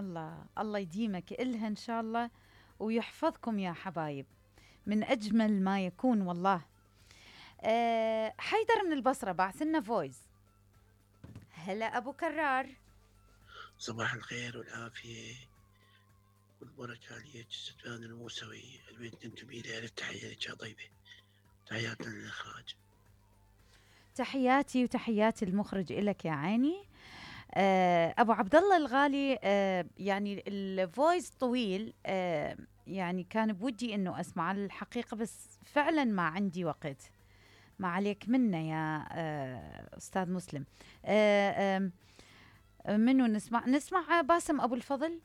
الله الله يديمك إلها إن شاء الله ويحفظكم يا حبايب من أجمل ما يكون والله. حيدر من البصرة بعث لنا فويس. هلا أبو كرار. صباح الخير والعافية والبركة عليك ستفان الموسوي البيت ننتمي له. ألف تحية لك يا طيبة. تحياتنا للإخراج. تحياتي وتحياتي المخرج إلك يا عيني. أبو عبد الله الغالي، يعني الفويس طويل، يعني كان بودي إنه أسمع الحقيقة بس فعلا ما عندي وقت. ما عليك منا يا أستاذ مسلم. منو نسمع باسم أبو الفضل.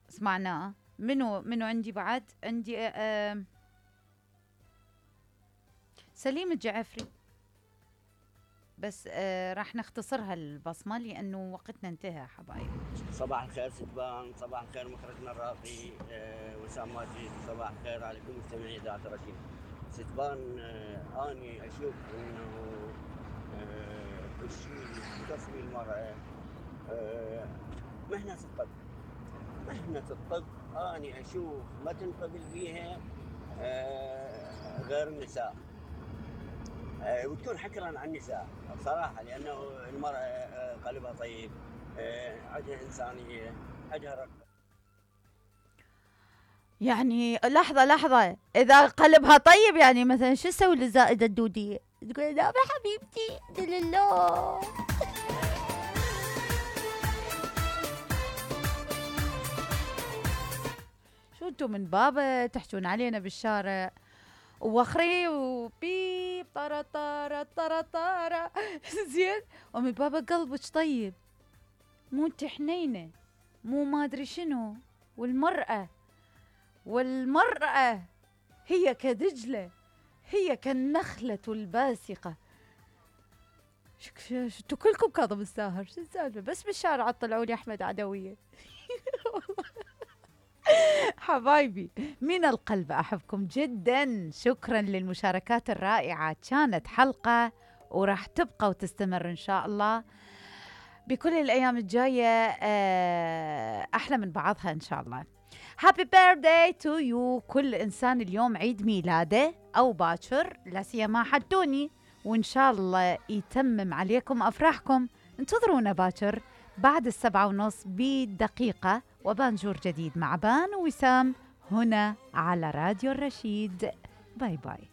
سمعناه. منو عندي بعد عندي سليم الجعفري. بس راح نختصرها البصمة لأنه وقتنا انتهى حبايب. صباح الخير ستبان، صباح الخير مخرجنا الراقي وسام ماجد، صباح الخير على كل مستمعي إذاعة الرشيد. ستبان أني أشوف إنه كل شيء تصفي المرأة مهنة الطب. مهنة الطب أني أشوف ما تنقبل بيها غير النساء، وتكون حكرا عن النساء بصراحة، لأنه المرأة قلبها طيب، عندها إنسانية، عندها رقة. يعني لحظة إذا قلبها طيب يعني مثلا شو تسوي للزائدة الدودية؟ تقول لا حبيبتي لله. شو انتم من بابا تحجون علينا بالشارع ووخري وبيب طارا طارا طارا طارا زين، ومن بابا قلبك طيب، مو انت حنينة، مو ما ادري شنو. والمرأة هي كدجلة، هي كالنخلة الباسقة. شو كلكم كاظم الساهر؟ شو السالفة؟ بس بالشارع طلعوا لي أحمد عدوية. حبايبي من القلب أحبكم جدا. شكرا للمشاركات الرائعة. كانت حلقة وراح تبقى وتستمر إن شاء الله بكل الأيام الجاية أحلى من بعضها إن شاء الله. Happy birthday to you. كل إنسان اليوم عيد ميلاده أو باكر، لا سيما حدوني، وإن شاء الله يتمم عليكم أفراحكم. انتظرونا باكر بعد 7:30 بدقيقة وبانجور جديد مع بان ووسام هنا على راديو الرشيد. باي باي.